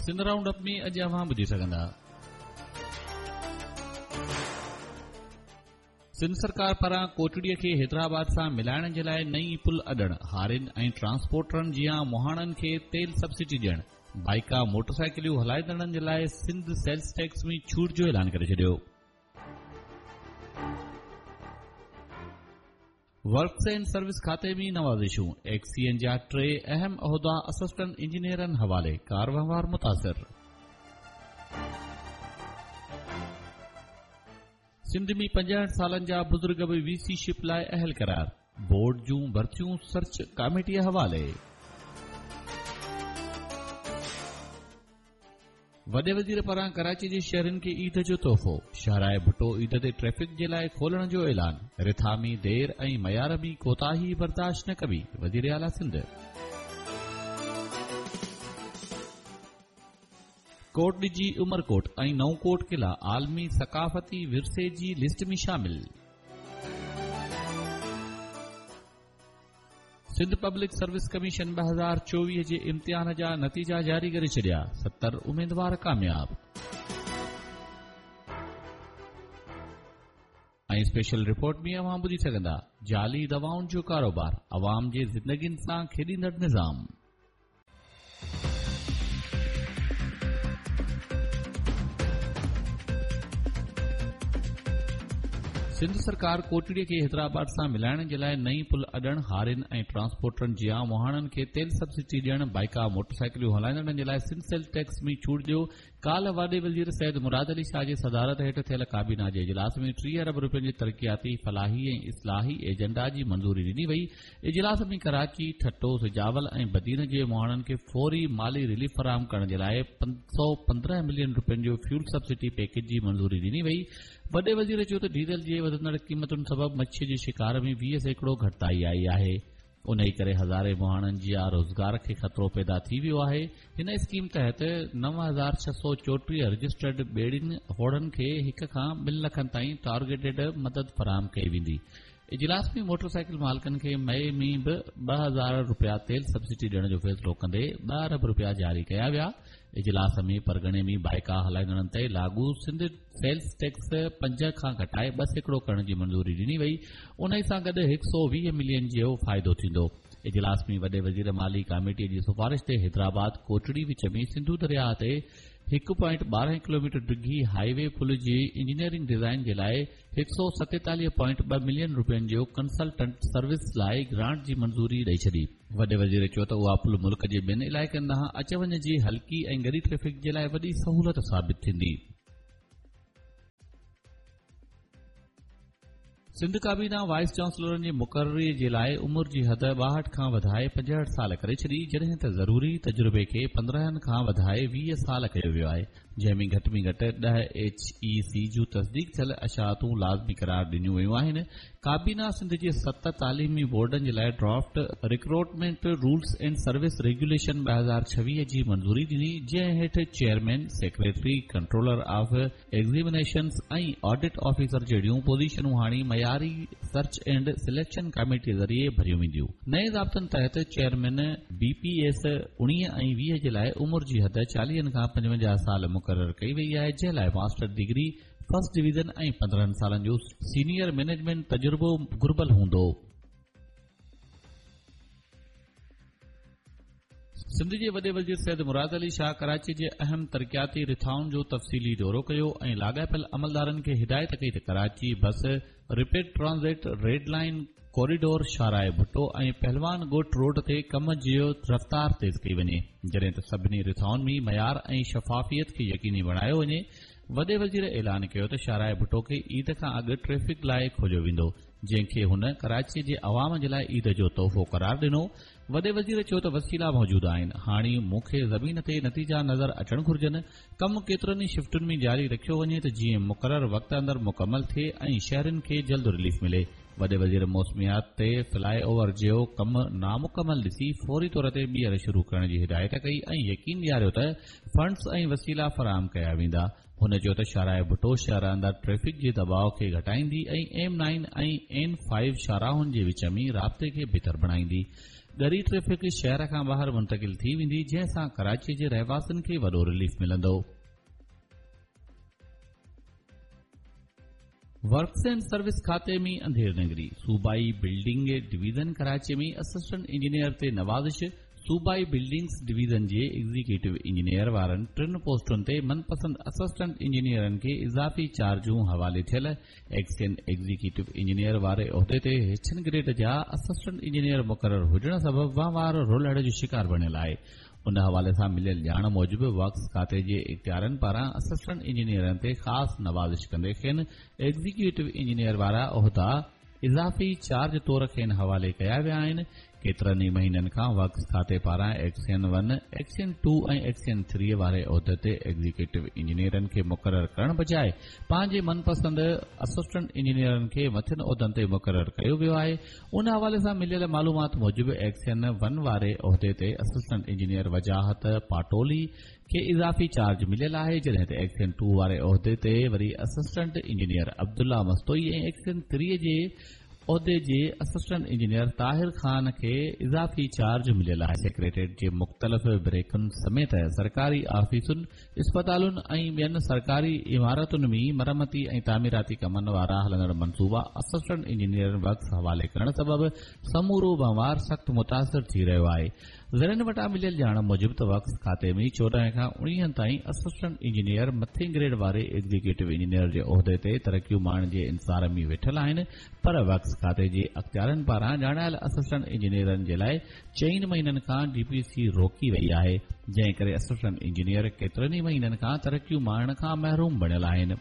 Sindh round up ۾ اڄ اوهان ٻڌي سگهندا. سنڌ سرڪار پاران ڪوٽڙي کي حيدرآباد سان ملائڻ جي لاء نئين پل اڏڻ، هارين ۽ ٽرانسپورٽرن جيان مهاڻن کي تيل سبسڊي ڏيڻ، بائيڪا موٽرسائيڪليون هلائيندڙن جي لاء سنڌ سيلز ٽيڪس ۾ ڇوٽ جو اعلان ڪري ڇڏيو. ورڪس اينڊ سروس کاتي ۾ نوازشون، ايڪسين جا ٽي اهم عهدا اسسٽنٽ انجنيئرن حوالي، ڪار وهنوار متاثر. سنڌ ۾ 65 سالن جا بزرگ به وي سي شپ لاء اهل قرار، بورڊ جون ڀرتيون سرچ ڪاميٽيء حوالي. وڏي وزير پاران ڪراچي جي شهرين کي عيد جو تحفو، شاهراهه ڀٽو عيد تي ٽريفڪ جي لاء کولڻ جو اعلان، رٿا ۾ دير ۽ معيار ۾ ڪوتاهي برداشت نه ڪبي، وزيراعليٰ سنڌ. ڪوٽڏجي، عمرڪوٽ ۽ نئون ڪوٽ قلعا عالمي ثقافتي ورثي جي لسٽ ۾ شامل. سنڌ پبلڪ سروس ڪميشن 2024 جي امتحان جا نتيجا جاري ڪري ڇڏيا، 70 اميدوار ڪامياب. ۽ اسپيشل رپورٽ ۾ اوهان ٻڌي سگهندا، جعلي دوائن جو ڪاروبار، عوام جي زندگين سان کيڏيندڙ نظام. سنڌ سرڪار ڪوٽڙي کي حيدرآباد سان ملائڻ جي لاء نئين پل اڏڻ، هارين ۽ ٽرانسپورٽرن جيان مهاڻن کي تيل سبسڊي ڏيڻ، بائيڪا موٽرسائيڪليون هلائيندڙن جي لاء سنڌ سيلز ٽيڪس ۾ ڇوٽ جو ڪالهه وڏي وزير سيد مراد علي شاهه جي صدارت هيٺ ٿيل ڪابينا جي اجلاس ۾ 30 ارب رپين جي ترقياتي، فلاحي ۽ اصلاحي ايجنڊا جي منظوري ڏني وئي. اجلاس ۾ ڪراچي، ٺٽو، سجاول ۽ بدين جي مهاڻن کي فوري مالي رليف فراهم ڪرڻ جي لاء 515 ملين رپين جو فيول سبسڊي پيڪيج جي منظوري ڏني وئي. وڏي وزير چيو ته ڊيزل جي وڌندڙ قيمتن سبب مڇي جي شڪار ۾ 20% گهٽتائي آئي آهي. انهي ڪري هزارين مهاڻن جي روزگار کي خطرو پيدا ٿي ويو آهي. هن اسڪيم تحت 9634 رجسٽرڊ ٻيڙين هوڙن کي هڪ کان ٻن لکن تائين ٽارگيٽيڊ مدد فراهم ڪئي ويندي. اجلاس ۾ موٽر سائيڪل مالڪن کي مئي ۾ به 2000 رپيا تيل سبسڊي ڏيڻ جو فيصلو ڪندي ٻه ارب رپيا جاري ڪيا ويا. اجلاس ۾ پرڳڻي ۾ بائيڪا هلائيندڙن تي لاڳو سنڌ سيلز ٽيڪس 5 کان گهٽائي 2% ڪرڻ جي منظوري ڏني وئي، انهي سان گڏ 120 ملين جو فائدو ٿيندو. اجلاس ۾ وڏي وزير مالي ڪاميٽي جي سفارش تي حيدرآباد ڪوٽڙي وچ ۾ سنڌو درياهه تي هڪ پوائنٽ 12 ڪلوميٽر ڊگهي هاء وي پل جي انجنيئرنگ ڊزائين جي لاء 147.2 ملين رپين جو ڪنسلٽنٽ سروس لاء گرانٽ جي منظوري ڏئي ڇڏي. وڏي وزير چيو ته اها پل ملڪ جي ٻين علائقن ڏانهن اچ وڃ جي هلڪي ۽ ڳري ٽريفڪ جي لاء وڏي سهولت ثابت ٿيندي. سنڌ ڪابينا وائيس چانسلرن جي مقرري جي لاء عمر جي حد 62 کان وڌائي 65 سال ڪري ڇڏي، جڏهن ته ضروري تجربي کي 15 کان وڌائي 20 سال ڪيو ويو آهي، جنهن ۾ گهٽ ۾ گهٽ 10 ايڇ اي سي جون تصديق ٿيل اشاعتون لازمي قرار ڏنيون ويون آهن. ڪابينا سنڌ جي ست تعليمي بورڊن جي لاء draft recruitment rules and service regulation 2026 جي منظوري ڏني، جنهن هيٺ chairman, secretary, controller of examinations ۽ audit officer جهڙيون پوزيشنون هاڻي معياري سرچ اينڊ سليڪشن ڪاميٽي ذريعي ڀريون وينديون. نئين ضابطن تحت چيئرمين بي پي ايس 19 ۽ 20 جي لاء عمر جي حد 40 کان 55 سال مقرر ڪئي وئي آهي جنهن لاء ماسٽر ڊگري فرسٽ ڊويزن ۽ 15 سالن جو سينيئر مئنيجمينٽ تجربو گهربل هوندو. سنڌ جي وڏي وزير سيد مراد علي شاهه ڪراچي جي اهم ترقياتي رٿائن جو تفصيلي دورو ڪيو ۽ لاڳاپيل عملدارن کي هدايت ڪئي ته Karachi bus rapid transit, red line corridor, شاهراهه ڀٽو ۽ پهلوان ڳوٺ روڊ تي ڪم جي رفتار تيز ڪئي وڃي، جڏهن ته سڀني رٿائن ۾ معيار ۽ شفافيت کي يقيني بڻايو وڃي. وڏي وزير اعلان ڪيو ته شاهراهه ڀٽو کي عيد کان اڳ ٽريفڪ لاء کوليو ويندو، جنهن کي هن ڪراچي جي عوام جي لاء عيد جو تحفو قرار ڏنو. وڏي وزير چيو ته وسيلا موجود آهن، هاڻي مون کي زمين تي نتيجا نظر اچڻ گهرجن، ڪم ڪيترن ئي شفٽن ۾ جاري رکيو وڃي ته جيئن مقرر وقت اندر مڪمل ٿئي ۽ شهرين کي جلد رليف ملي. وڏي وزير موسميات تي فلاء اوور جو ڪم نامڪمل ڏسي فوري طور تي ٻيهر شروع ڪرڻ جي هدايت ڪئي ۽ يقين ڏياريو ته فنڊز ۽ وسيلا فراهم ڪيا ويندا. هن چيو ته شاهراهه ڀٽو شهر اندر ٽريفڪ جي دٻاء کي گهٽائيندي ۽ ايم نائن ۽ اين فائيو شاهراهن جي وچ ۾ رابطي کي بهتر بڻائيندي. ڳري ٽريفڪ شهر کان ٻاهر منتقل ٿي ويندي، جنهن سان ڪراچي جي رهواسين کي وڏو رليف ملندو. ورڪس اينڊ سروس کاتي ۾ انڌير نگري، صوبائي building division Karachi ۾ assistant engineer تي نوازش، صوبائي بلڊنگس ڊويزن جي ايگزيڪيوٽو انجنيئر وارن ٽن پوسٽن تي من پسند اسسٽنٽ انجنيئرن کي اضافي چارجون حوالي ٿيل ايڪسين ايگزيڪيوٽو انجنيئر واري عهدي تي هيٺين گريڊ جا اسسٽنٽ انجنيئر مقرر هجڻ سبب وهنوار رولهڙ جو شڪار بڻيل آهي. ان حوالي سان مليل ڄاڻ موجب ورڪس کاتي جي اختيارين پاران اسسٽنٽ انجنيئرن تي خاص نوازش ڪندي کين ايگزيڪيوٽو انجنيئر وارا عهدا اضافي چارج طور کين حوالي ڪيا ويا آهن. ڪيترن ئي مهينن کان ورڪس کاتي پاران XEN one, XEN two ۽ XEN three واري عهدي تي ايگزيڪيوٽو انجنيئرن کي مقرر ڪرڻ بجاء پنهنجي من پسند اسسٽنٽ انجنيئرن کي مٿين عهدن تي مقرر ڪيو ويو آهي. ان حوالي سان مليل معلومات موجب ايڪسين ون واري عهدي تي اسسٽنٽ انجنيئر وجاهت پاٽولي کي اضافي چارج مليل آهي جڏهن ته ايڪسين ٽو واري عهدي تي وري assistant engineer Abdullah Mastoi ۽ XEN three جي عهدي جي اسسٽنٽ انجنيئر طاهر خان کي اضافي چارج مليل آهي. سيڪريٽريٽ جي مختلف بريڪن سميت سرڪاري آفيسن، اسپتالن ۽ ٻين سرڪاري عمارتن ۾ مرمتي ۽ تعميراتي ڪمن وارا هلندڙ منصوبا اسسٽنٽ انجنيئرن ورڪس حوالي ڪرڻ سبب سمورو وهنوار سخت متاثر ٿي رهيو آهي. ذريعن وٽان مليل ڄاڻ موجب ته ورڪس کاتي ۾ 14 کان 19 تائين اسسٽنٽ انجنيئر مٿين گريڊ واري ايگزيڪيوٽو انجنيئر جي عهدي تي ترقيون ماڻڻ جي انتظار ۾ ويٺل آهن پر ورڪس کاتي جي اختيارين پاران ڄاڻايل اسسٽنٽ انجنيئرن جي لاء چئن مهينن کان ڊي پي سي روڪي وئي آهي جنهن ڪري اسسٽنٽ انجنيئر ڪيترن ئي مهينن کان ترقيون ماڻڻ کان محروم بڻيل آهن.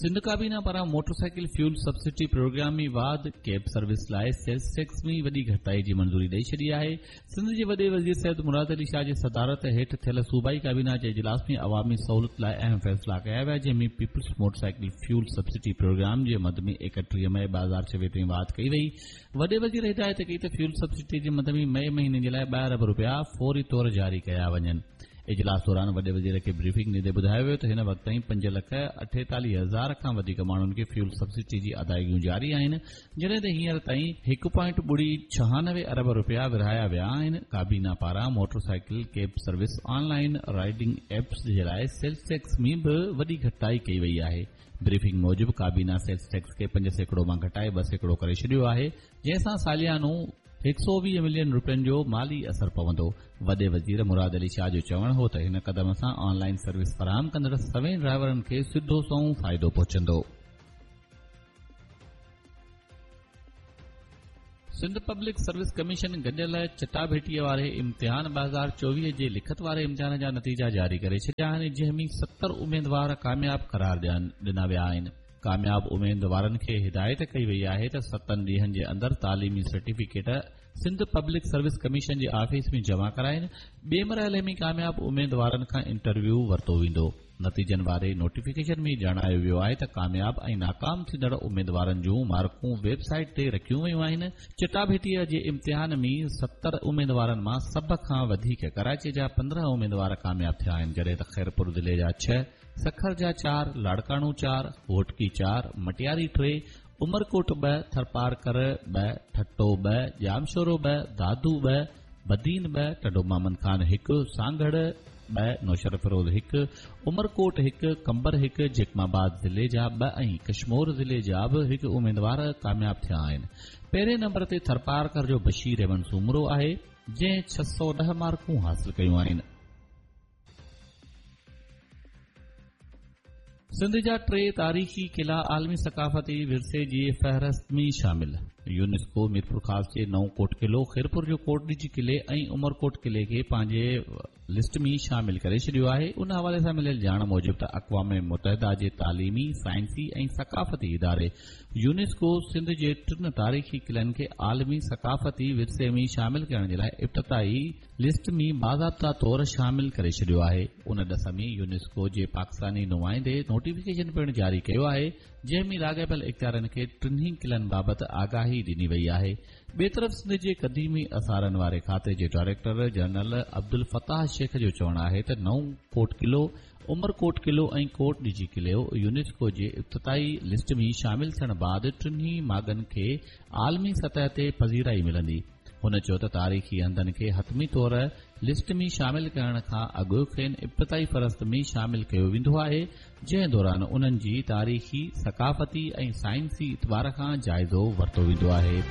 سنڌ ڪابينا پاران موٽرسائيڪل فيول سبسڊي پروگرام ۾ واڌ، ڪيب سروس لاء سيلز ٽيڪس ۾ وڏي گهٽتائي جي منظوري ڏئي ڇڏي آهي. سنڌ جي وڏي وزير سيد مراد علي شاهه جي صدارت هيٺ ٿيل صوبائي ڪابينا جي اجلاس ۾ عوامي سهولت لاء اهم فيصلا ڪيا ويا جنهن ۾ peoples motorcycle fuel subsidy programme جي مد ۾ 31 مئي 2026 تائين واڌ ڪئي وئي. وڏي وزير هدايت ڪئي ته فيول سبسڊي جي مد ۾ مئي مهيني جي لاء ٻه ارب رپيا فوري طور جاري ڪيا وڃن. اجلاس دوران وڏي وزير کي بريفنگ ڏيندي ٻڌايو ويو ته هن وقت تائين 5,48,000 کان وڌيڪ ماڻهن کي فيول سبسڊي جي ادائيگيون جاري آهن جڏهن ته هينئر تائين هڪ پوائنٽ ٻڙي ڇهانوي ارب رپيا ورهايا ويا آهن. ڪابينا پاران motorcycle cab service online riding apps جي لاء سيلز ٽيڪس ۾ به وڏي گهٽتائي ڪئي وئي آهي. بريفنگ موجب ڪابينا سيلز ٽيڪس کي 5% مان گهٽائي 2% ڪري ڇڏيو آهي جنهن سان ساليانو 120 ملين رپين جو مالي اثر پوندو. وڏي وزير مراد علي شاهه جو چوڻ هو ته هن قدم سان آن لائين سروس فراهم ڪندڙ سوين ڊرائيورن کي سڌو سنئون فائدو پهچندو. سنڌ پبلڪ سروس ڪميشن گڏيل چٽاڀيٽي واري امتحان 2024 جي لکت واري امتحان جا نتيجا جاري ڪري ڇڏيا آهن جنهن ۾ 70 اميدوار ڪامياب قرار ڏنا ويا آهن. ڪامياب اميدوارن کي هدايت ڪئي وئي آهي ته ستن ڏينهن جي اندر تعليمي certificate Sindh public service commission جي آفيس ۾ جمع ڪرائين، ٻئي مرحلي ۾ ڪامياب اميدوارن کان انٽرويو ورتو ويندو. نتيجن واري نوٽيفڪيشن ۾ ڄاڻايو ويو آهي ته ڪامياب ۽ ناڪام ٿيندڙ اميدوارن جون مارڪون ويب سائيٽ تي رکيون ويون آهن. چٽاڀيٽيء جي امتحان ۾ 70 اميدوارن مان سڀ کان وڌيڪ ڪراچي جا 15 اميدوار ڪامياب ٿيا آهن جڏهن ته خيرپور ضلعي جا ڇهه، سکر جا چار، لاڙڪاڻو چار، گهوٽڪي چار، مٽياري ٽي، عمرڪوٽ ٻه، ٿرپارڪر ٻه، ٺٽو ٻه، ڄامشورو ٻه، دادو ٻه، بدين ٻه، ٽنڊو محمد خان هڪ، سانگهڙ ٻه، نوشهروفيروز هڪ، عمرڪوٽ هڪ، قمبر هڪ، جيڪب آباد ضلعي جا ٻه ۽ ڪشمور ضلعي جا به هڪ اميدوار ڪامياب ٿيا آهن. پهرين نمبر تي ٿرپارڪر جو بشير احمد سومرو آهي، جنهن 610 مارڪون حاصل ڪيون آهن. سنڌ جا ٽي تاريخي قلعا عالمي ثقافتي ورثي جي فهرست ۾ شامل، يونيسڪو ميرپورخاص جي نئون ڪوٽ قلعو، خيرپور جو ڪوٽڏيجي قلعي ۽ عمرڪوٽ قلعي کي پنهنجي لسٽ ۾ شامل ڪري ڇڏيو آهي. ان حوالي سان مليل ڄاڻ موجب ته اقوام متحده جي تعليمي، سائنسي ۽ ثقافتي اداري يونيسڪو سنڌ جي ٽن تاريخي قلعن کي عالمي ثقافتي ورثي ۾ شامل ڪرڻ جي لاء ابتدائي لسٽ ۾ باضابطا طور شامل ڪري ڇڏيو آهي. ان ڏس ۾ يونيسڪو جي پاڪستاني نمائندي نوٽيفڪيشن پڻ جاري ڪيو آهي، جنهن ۾ لاڳاپيل اختيارين کي ٽنهي قلعن بابت آگاهي ڏني وئي آهي. ٻئي طرف سنڌ جي قديمي آثارن واري کاتي جي ڊائريڪٽر جنرل عبدالفتاح شيخ جو چوڻ آهي ته نئون ڪوٽ قلعو، عمرڪوٽ قلعو ۽ ڪوٽ ڏيجي قلعو يونيسڪو جي ابتدائي لسٽ ۾ شامل ٿيڻ بعد ٽنهي ماڳن کي عالمي سطح تي پذيرائي ملندي. هن چيو ته تاريخي هنڌن کي حتمي طور لسٽ ۾ شامل ڪرڻ کان اڳ کين ابتدائي فهرست ۾ شامل ڪيو ويندو آهي، جنهن دوران انهن جي تاريخي، ثقافتي ۽ سائنسي اعتبار کان جائزو ورتو ويندو آهي.